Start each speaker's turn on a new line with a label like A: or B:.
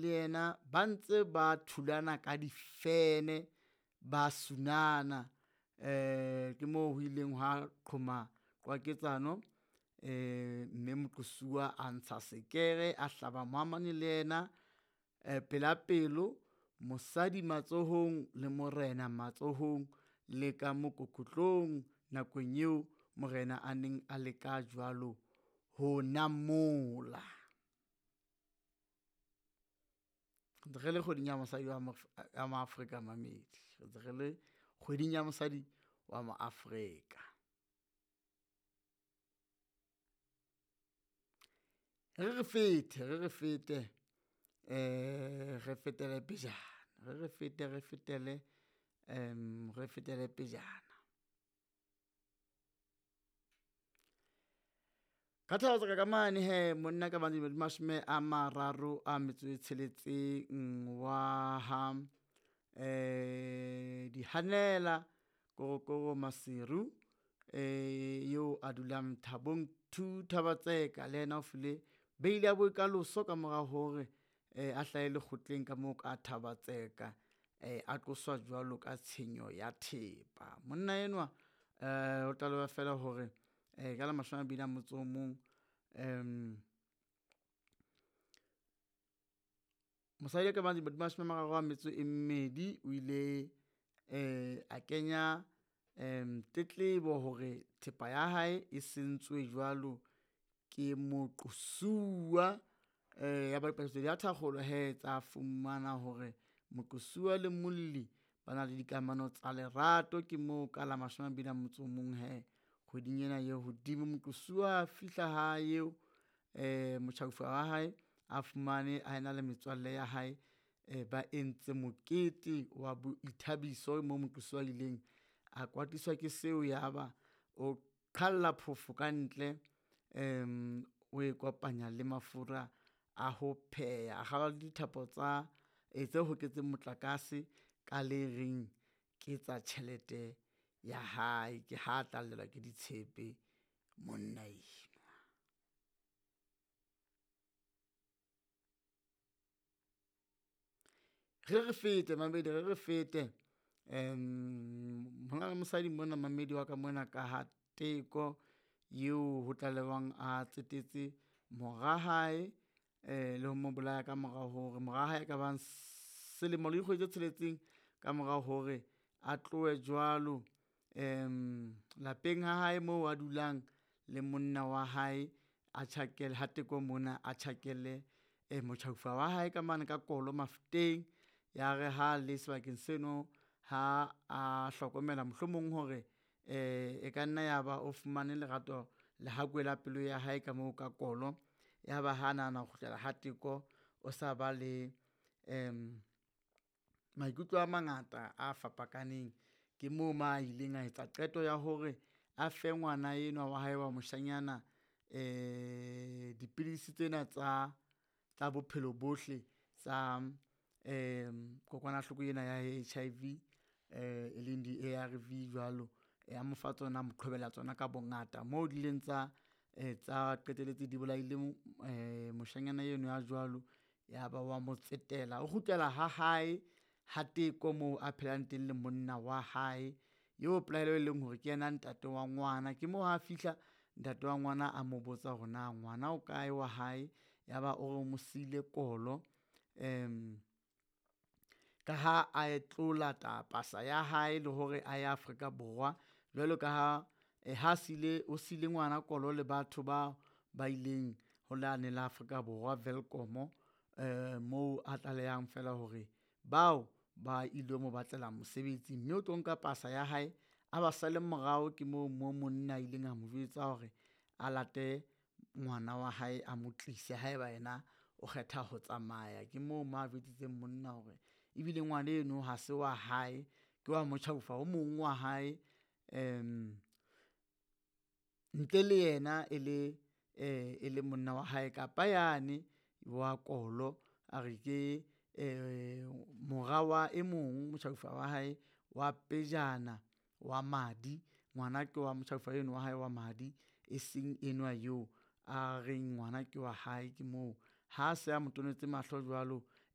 A: Le yena ba ntse ba thulana ka difene, ba sunana ke moo ho ileng hwa qhoma qwaketsano mme moqosuwa a ntsha sekere, a hlaba mohamane le yena pela pelo. Mosadi matsohong le morena matsohong le ka mokokotlong nakong eo morena a neng a leka jwalo ho namola. Ntse re le kgweding ya mosadi wa Maafrika mamedi, re ntse re le kgweding ya mosadi wa Moafrika. Re re fete re re fete re fetele pejana, re re fete re fetele re fetele pejana. Ka Thaba-Tseka ka mane hee monna ka bang dilemo di mashome a mararo a metso e tsheletseng wa ha Dihanela Korokoro Maseru eo a dulang Thabong 2 Thaba-Tseka le yena o file beili ya boikaloso ka mora hore a hlahe lekgotleng ka moo ka Thaba-Tseka. A qoswa jwalo ka tshenyo ya thepa. Monna enwa o tlaleha fela hore ka la mashome a mabedi a motso o mong mosadi a ka bang dilemo di mashome a mararo a metso e mmedi o ile a kenya tletlebo hore thepa ya hae e sentswe jwalo ke moqosuwa. Ya ba dipatlisiso di a thakgolwa hee tsa fumana hore moqosuwa le molli ba na le dikamano tsa lerato. Ke moo ka la mashome a mabedi a motso o mong hee kgweding ena e hodimo, moqosuwa a fihla hae eo motjhaufa wa hae a fumane a ena le metswalle ya hae ba entse mokete wa boithabiso moo moqosuwa a ileng a kwatiswa ke seo. Ya ba o qhalla phofo kantle o e kopanya le mafura a ho pheha, a kgaola le dithapo tsa tse hoketseng motlakase ka le reng ke tsa tjhelete ya hae. Ke ha tla llelwa ke ditshepe monna enwa. Re re fete mamedi re re fete hona le mosadi mona mamedi wa ka mona ka ha Teko eo ho tlalehwang a tsetetse mora hae le ho mo bolaya ka mora hore mora hae a ka bang selemo le dikgwedi tse tsheletseng ka mora hore a tlohe jwalo lapeng ha hae moo a dulang le monna wa hae. A tjhakele ha Teko mona a tjhakele motjhaufa wa hae ka mane ka kolo Mafeteng. Ya re ha le sebakeng seno, ha a hlokomela mohlomong hore e ka nna ya ba o fumane lerato lehakwe la pelo ya hae ka moo ka kolo. Ya ba ha nahana ho kgutlela ha Teko, o sa ba le maikutlo a mangata a fapakaneng. Ke moo mo a ileng a etsa qeto ya hore a fe ngwana enwa wa hae wa moshanyana dipidisi tsena tsa tsa bophelo bohle tsa kokwanahloko ena ya HIV e leng di-ARV jwalo. A mo fa tsona, a mo qhobella tsona ka bongata moo di ileng tsa tsa qetelletse di bolaile moshanyana eno ya jwalo. Ya ba wa mo tsetela, o kgutlela ha hae ha Teko moo a phelang teng le monna wa hae eo pelaelo e leng hore ke yena ntate wa ngwana. Ke moo ha fihla ntate wa ngwana a mo botsa hore na ngwana o kae wa hae, ya ba o re o mo siile kolo ka ha a tlo lata pasa ya hae le hore a ye Afrika Borwa. Jwalo ka ha ha sile o sile ngwana kolo le batho bao ba ileng ho lane la Afrika Borwa Welkom moo a tlalehang fela hore bao ba ilo mo batlela mosebetsi, mme o tlo nka pasa ya hae a ba sale morao. Ke moo mo monna a ileng a mo jwetsa hore a late ngwana wa hae a mo tlise haeba yena o kgetha ho tsamaya. Ke moo mo a jwetsitseng monna hore ebile ngwana eno ha se wa hae, ke wa motjhaufa o mong wa hae ntle le yena e le e le monna wa hae kapa yane wa kolo. A re ke mora wa e mong motjhaufa wa hae wa pejana wa madi, ngwana ke wa motjhaufa eno wa hae wa madi e seng enwa eo a reng ngwana ke wa hae. Ke moo ha se a mo tonetse mahlo jwalo.